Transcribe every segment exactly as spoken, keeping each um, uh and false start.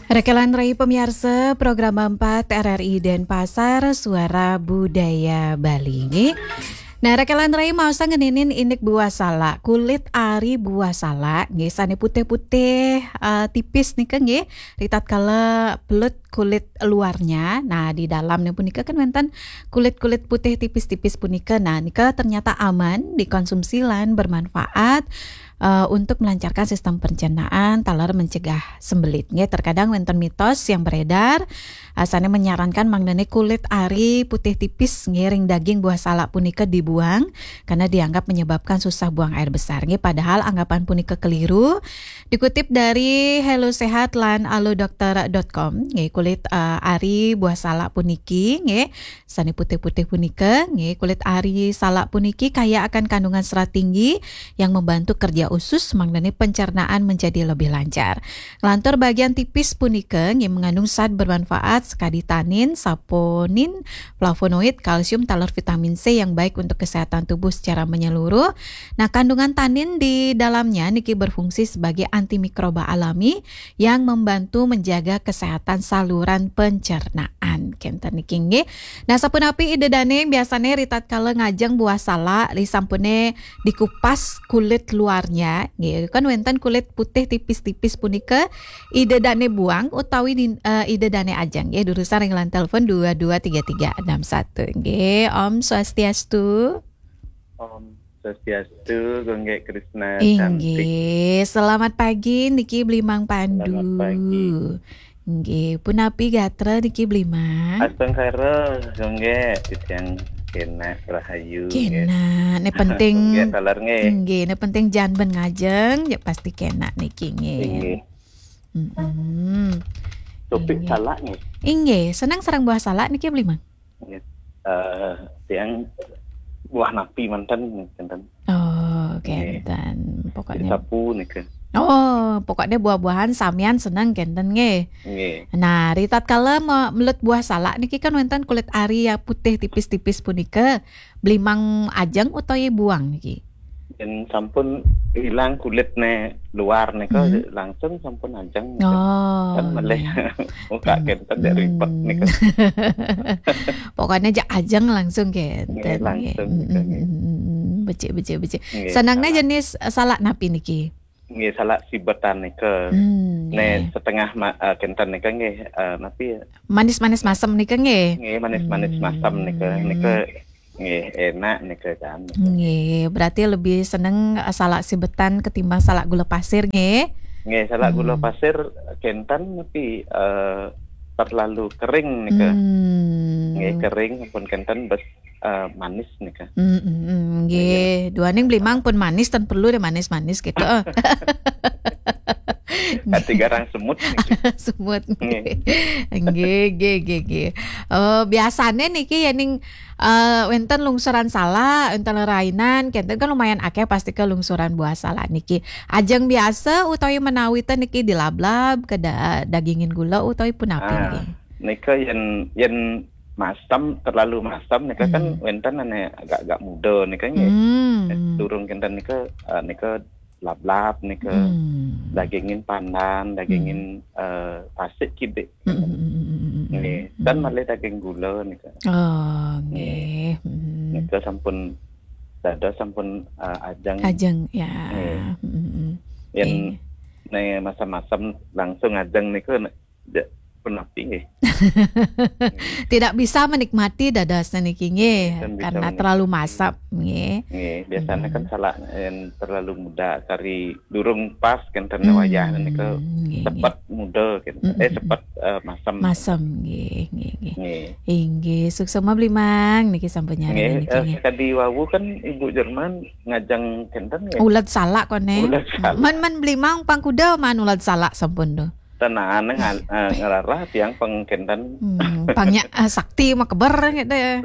Rekelan rai pamiarsa, program empat R R I Denpasar, Suara Budaya Bali, nggih. Nah, rekelan rai maos ngeninin indik buah salak, kulit ari buah salak, nggih, sane putih-putih, eh, tipis nika, nggih. Ritatkala belut kulit luarnya, nah, di dalamnya punika kan wenten kulit-kulit putih tipis-tipis punika. Nah, nika ternyata aman dikonsumsi lan bermanfaat, eh, untuk melancarkan sistem pencernaan, taler mencegah sembelit. Nggih, terkadang wenten mitos yang beredar, eh, sane menyarankan mangdane kulit ari putih tipis nggih ring daging buah salak punika dibuang karena dianggap menyebabkan susah buang air besar. Nggih, padahal anggapan punika keliru. Dikutip dari Hello Sehat lan alodokter dot com, nggih, kulit, eh, ari buah salak puniki, nggih, sane putih-putih punika, nggih, kulit ari salak puniki kaya akan kandungan serat tinggi yang membantu kerja usus, mangdane pencernaan menjadi lebih lancar. Nglantur bagian tipis punika, nggih, mengandung zat bermanfaat sekadi tanin, saponin, flavonoid, kalsium, taler vitamin C yang baik untuk kesehatan tubuh secara menyeluruh. Nah, kandungan tanin di dalamnya niki berfungsi sebagai antimikroba alami yang membantu menjaga kesehatan saluran pencernaan. Kenten niki, nggih. Nah, sapunapi Ida Dane biasane ritatkala ngajeng buah salak, ri sampune dikupas kulit luarnya, nggih. Kan wenten kulit putih tipis-tipis punika, Ida Dane buang utawi din-, eh, Ida Dane ajeng, nggih. Durusang ring line telepon dua dua tiga tiga enam satu, nggih. Om Swastiastu. Om Swastiastu, Gongge Krishna cantik. Inggih, selamat pagi niki Blimang Pandu. Selamat pagi. Inggih, punapi gatra niki Blimang? Astungkara, Gongge, titiang kenak rahayu, nggih. Kenak, ne penting. Gongge taler, nggih. Inggih, ne penting jan ben ngajeng, ya pasti kenak niki, nggih. Inggih. Mm-mm. Topik inggih. Salak, nggih. Inggih, seneng sareng buah salak niki Blimang? Nggih. Eh, tiang buah napi manten, kenten. Oh, nggih. Kenten. Pokoknya disapu nika. Oh, pokoknya buah-buahan samian seneng kenten nggih. Nggih. Nah, ritatkala me-, melut buah salak niki kan wenten kulit ari ya putih tipis-tipis punika. Blimang ajeng utawi buang niki? Yen sampun ilang kulitne luar nika, mhm, langsung sampun ajeng nika. Oh, kan meleh. Iya. Muka kenten dek ribet nika. Pokoknya aja ajeng langsung kenten. Nggih, langsung nika, nggih. Mm, mm, mm, mm. Becik, becik, becik. Nggih, senangne salah. Jenis, eh, salak napi niki? Nggih, salak sibetan nika. Hmm, ne nggih. Setengah ma-, eh, kenten nika nggih, eh, napi ya? Manis-manis masem nika nggih? Nggih, manis-manis masem nika. Hmm. Nika nggih, enak nika kan. Nggih, berarti lebih seneng, eh, salak sibetan ketimbang salak gula pasir nggih? Nggih, salak gula, hmm, pasir kenten napi, eh, terlalu kering nika. Hmm. Nggih, kering pun kenten bes, eh, manis nika. Mm, mm, mm, nggih. Nggih. Duaning Blimang pun manis, ten perlu deh manis-manis gitu. Ati garang semut niki. Semut. Nggih. Nggih, nggih, nggih, nggih. Oh, biasane niki yening, eh, wenten lungsuran salak, wenten rainan, kenten kan lumayan akeh pasti ke lungsuran buah salak niki. Ajeng biasa utawi menawi ten niki dilablab, ke da-, dagingin gula utawi punapi, ah, niki? Nika yen, yen masam, terlalu masam nika kan, hmm, wenten ane agak-agak muda nika nggih. Hmm. Eh, durung kenten nika, eh, nika lablab nika. Hmm. Dagingin pandan, dagingin, hmm, eh, tasik kidik. Hmm, hmm, hmm, hmm, hmm, hmm. Nggih, hmm, dan malih daging gula nika. Oh, nggih. Nggih. Hmm. Nika sampun dados sampun, eh, ajeng. Ajeng, ya. Nggih. Hmm, hmm, hmm. Yen, nggih, ne masam-masam langsung ajeng nika, ne, ja-, punapi nggih. Tidak bisa menikmati dadosne niki nggih, nggih, kan bisa karena menik-, terlalu masam nggih. Nggih, biasanya kan, hmm, salak yang terlalu muda kari durung pas kenten, hmm, wayah nika, nggih, nggih, sepet muda kenten. Hmm, eh, hmm, hmm. Sepet, eh, masam. Masam nggih, nggih, nggih. Nggih. Inggih, suksma Blimang niki sampun nyarengin nggih, niki, eh, nggih. Tadi wau kan Ibu Jerman ngajeng kenten nggih. Ulet salak kone. Ulet salak. Man, man Blimang pang kuda man ulet salak sampun tuh. Tenane ngal-, eh, ngelarah tiang pengkenten. Hmm, pangnya, eh, sakti makeber gitu ya.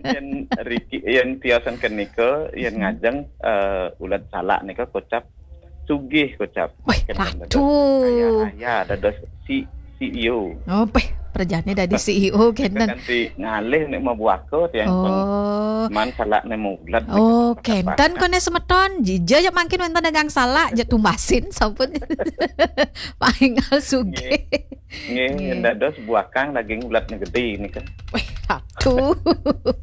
Yen riki, yen tiosan kenika, yen, hmm, ngajeng, eh, ulat salak nika kocap sugih kocap. Wih, kenten dados ratu. Kaya raya, dados si, C E O. Oh, peh, perjane dadi C E O kenten. Kanti ngalih nek mau buaka tiang peng-, oh, man salak nek mau ulat nika. Oh, kenten kone semeton. Jija ya mangkin wenten dagang salak, ya tumbasin sampun. Aingal sugih. Nggih, nggih. Dados buakang daging ulat gedé nika. Wih, aku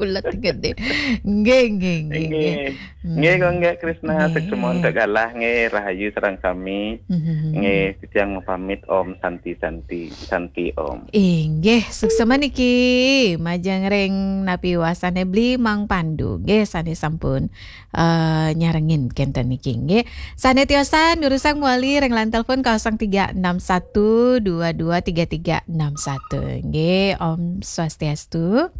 ulat gedé. Nggih, nggih, nggih, nggih. Nggih. Nggih, Gung Gék Krisna, nggih. Suksma untuk galah, nggih, rahayu sareng sami. Mhm. Nggih, titiang mapamit, Om Santi, Santi, Santi Om. Inggih, suksma niki majeng ring napi wasané Bli Mang Pandu, nggih, sané sampun eh, nyarengin kénten niki, nggih. Sané tiosan durusang mawali ring line telepon kosong tiga enam satu dua dua tiga tiga enam satu. Nggih, Om Swastiastu.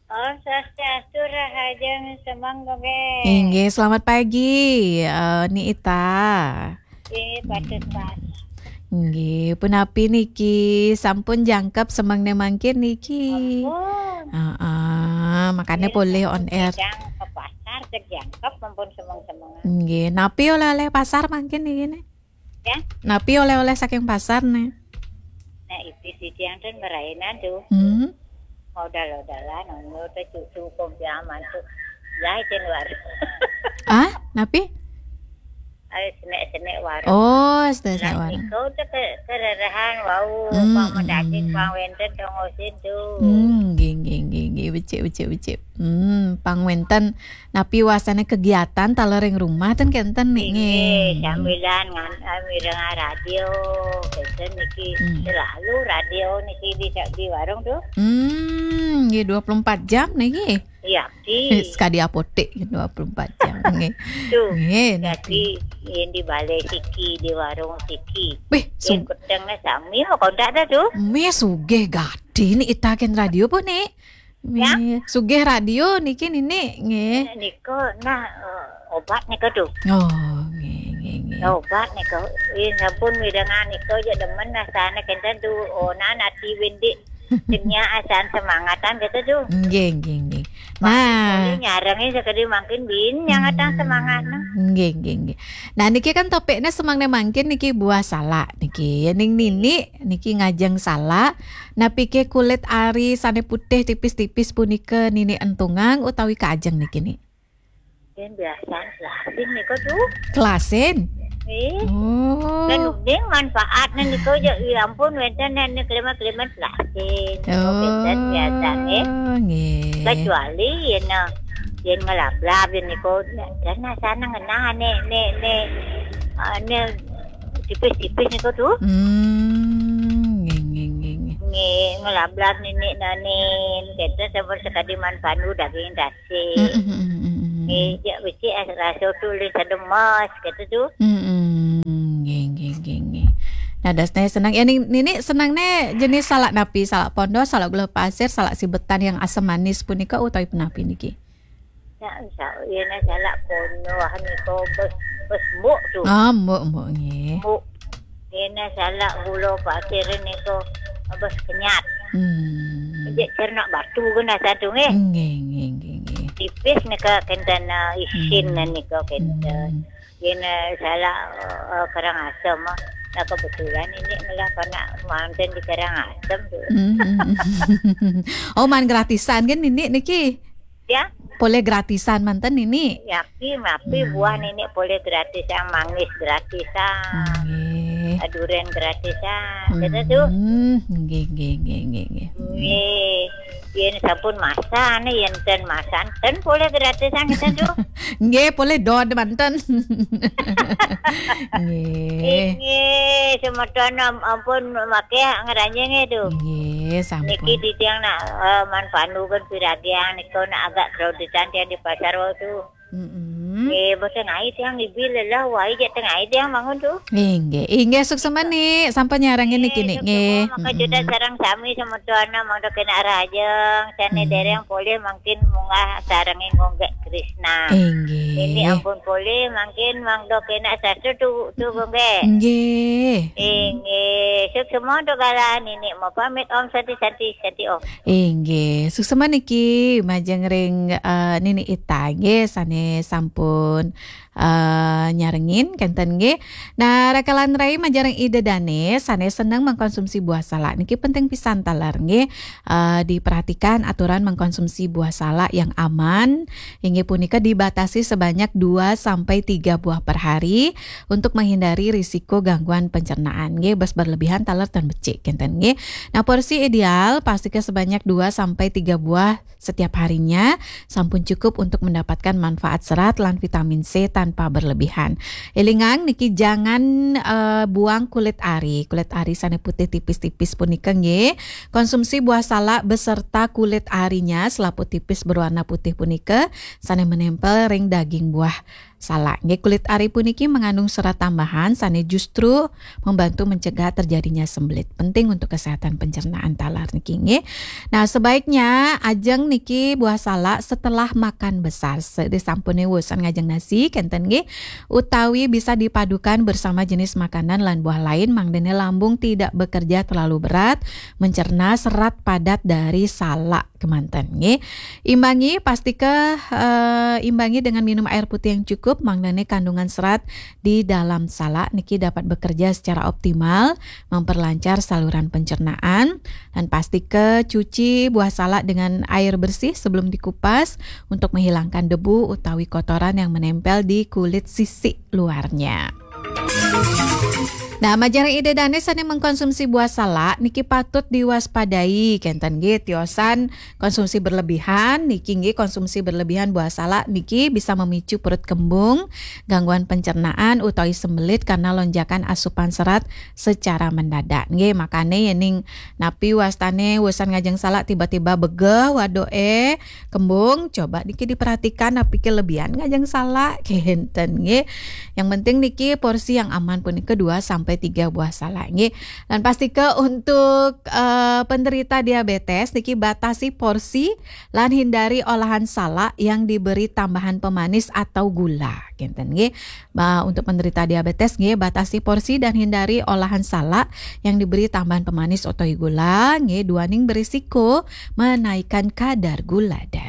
Om Swastiastu, rahajeng semeng, Gung Gék. Inggih, selamat pagi, eh, Ni Ita. Nggih, patut pas. Nggih, punapi niki sampun jangkep semengné mangkin niki? Ampun. Heeh, makané polih on air. Sedang ke pasar, ke jangkep, ampun semeng-semengan. Nggih, napi oleh-oleh pasar mangkin niki né? Ya? Napi oleh-oleh saking pasar né? Nah, itu sih yang ten merainan tuh. Hmm. Modal-modalan, ono teh cucu kompiaman tuh. Jahit luar. Ah, napi? Ayo senek-senek warung. Oh, senek-senek warung. Niku teh ke-, kererahan wau, hmm, pang daging, hmm, pang wénten, tong osin tuh. Hmm, nggih, nggih, nggih, nggih. Becik, becik, becik. Hmm, pang wénten napi wasané kegiatan taler ring rumah ten kénten nih, nggih, nggih. Sambilan ngan-, eh, mirengang radio, kénten niki. Hmm. Selalu radio niki di, di warung tuh. Hmm, nggih, dua puluh empat jam niki. Iya, di. Sekadi apotek dua puluh empat jam, nggih. Tuh, nggih, jadi niki. Yang di balai siki, di warung siki. Wih, yang su- kutengnya sami, mau kontak dah tuh. Mé sugih gati Ni Ita kén radio pun, Ni. Ya? Nggih. Sugih radio niki, Ninik, nggih. Nika, nah, eh, obat nika tuh. Oh, nggih, nggih, nggih. Obat nika. Ih, sampun mirengang nika aja demen rasane kenten tuh. Oh, nah, nati windik. Tenya asan semangatan gitu tuh. Nggih, nggih, nggih. Nah. Boleh nyarengin sekali mangkin bin nyangatan, hmm, semangatnya. Nggih, nggih, nggih. Nah, niki kan topiknya semangnya mangkin niki buah salak niki. Ya, ning Ninik niki ngajeng salak. Napiké kulit ari sané putih tipis-tipis punika Ninik entungang utawi kaajeng niki, Nik? Yen biasa selasin nika tuh. Kelasin? Eh. Oh. Dan uning manfaatnya nika aja, ya ampun, wénten nek klimat-klimat selasin. Oh, wénten biasa, eh. Nggih. Kecuali yen, yen ngelablab yen nika, dan rasanya ngenah nek, nek, nek, ah, nek tipis-tipis nika tuh. Hmm, nggih, nggih, nggih, nggih. Nggih, ngelablab Ninik nanin, kita sampun sekadi man pandu daging dasi. Mm, mm, mm, mm, mm, mm. Nggih, ya becik rasa tuh lih sedemas, gitu tuh. Mm, mm, nggih, nggih, nggih, nggih. Nah, dasnya senang. Ya, Nik, Ninik senang nih jenis salak napi, salak pondo, salak gula pasir, salak sibetan yang asam manis punika utawi punapi niki? Ya, insya Allah, ya, nah, salak pondo, ah, nika bes, bes mbok tuh. Ah, mbok, mbok, nggih. Mbok. Ya, nah, salak gula pasir nika bes kenyat. Hmm. Jek cernak batu kena satu, nggih. Nggih, nggih, nggih, nggih. Tipis nika kenten, eh, isin, hmm, nika kenten. Hmm. Yen, eh, salak, eh, Karangasem, ah. Nah, kebetulan ini ngelah panak manten di Karangasem tuh. Hmm. Oh, man gratisan kan Ninik niki? Ya. Polih gratisan manten Ninik? Ya, pi, mapi, hmm, buah Ninik polih gratisan, mangis gratisan. Nggih. Duren gratisan. Gitu tuh. Hmm, nggih, nggih, nggih, nggih, nggih. Nggih. Yen sampun masan, yen ten masan, ten polih gratisan kita tuh. Nggih, polih dod manten. Nggih. Nggih, semeton am-, ampun maké ngranjing itu. Nggih, sampun. Niki titiang nak, eh, man pandu kan piragiang niku nak agak kreditan tiang di pasar wau tuh. Mm-mm. Nggih, boten ai tiang ibi lelah wai jek tengah ai tiang bangun tuh. Inggih, inggih, suksma Nik, sampun nyarengin niki Nik, nggih. Maka juta sareng sami semeton mangda kena rajeng, sane, mm, dereng polih mangkin munggah sarengin Gung Gék Krisna. Inggih. Ini ampun polih mangkin mangda kena sastra tuh, tuh Gung Gék. Inggih. Inggih, suksma untuk galah Ninik mau pamit Om Santi, Santi, Santi Om. Inggih, suksma niki majeng ring, eh, Ninik Ita nggih sane sampun, eh, nyarengin, kenten nggih. Nah, rakalan rai majeng ida dane sane seneng mengkonsumsi buah salak niki penting pisan taler nggih. Eh, diperhatikan aturan mengkonsumsi buah salak yang aman, inggih punika dibatasi sebanyak dua sampai tiga buah per hari untuk menghindari risiko gangguan pencernaan nggih. Bes berlebihan taler tan becik kenten nggih. Nah, porsi ideal pastika sebanyak dua sampai tiga buah setiap harinya sampun cukup untuk mendapatkan manfaat serat lan vitamin C tanpa berlebihan. Elingang niki jangan eh, buang kulit ari. Kulit ari sane putih tipis-tipis punika nggih. Konsumsi buah salak beserta kulit arinya, selaput tipis berwarna putih punika sane menempel ring daging buah salak nggih. Kulit ari puniki mengandung serat tambahan sane justru membantu mencegah terjadinya sembelit. Penting untuk kesehatan pencernaan taler niki nggih. Nah, sebaiknya ajeng niki buah salak setelah makan besar. Sedisampune wusan ngajeng nasi kenten nggih, utawi bisa dipadukan bersama jenis makanan lan buah lain mangdene lambung tidak bekerja terlalu berat mencerna serat padat dari salak kemanten nggih. Imbangi pastika eh, imbangi dengan minum air putih yang cukup mangdene kandungan serat di dalam salak niki dapat bekerja secara optimal, memperlancar saluran pencernaan, dan pastika cuci buah salak dengan air bersih sebelum dikupas untuk menghilangkan debu utawi kotoran yang menempel di kulit sisi luarnya. Nah, majeng ida dane sane mengkonsumsi buah salak niki patut diwaspadai kenten nggih tiosan konsumsi berlebihan niki nggih. Konsumsi berlebihan buah salak niki bisa memicu perut kembung, gangguan pencernaan utawi sembelit karena lonjakan asupan serat secara mendadak nggih. Makane yening napi wastane wusan ngajeng salak tiba-tiba begeh waduh eh kembung, coba niki diperhatikan napi ke lebihan ngajeng salak kenten nggih. Yang penting niki porsi yang aman punika dua sampai tiga buah salak nggih. Dan pastika untuk eh, penderita diabetes niki batasi porsi lan hindari olahan salak yang diberi tambahan pemanis atau gula kenten nggih. Ba, untuk penderita diabetes nggih batasi porsi dan hindari olahan salak yang diberi tambahan pemanis atau gula nggih duaning berisiko menaikkan kadar gula darah.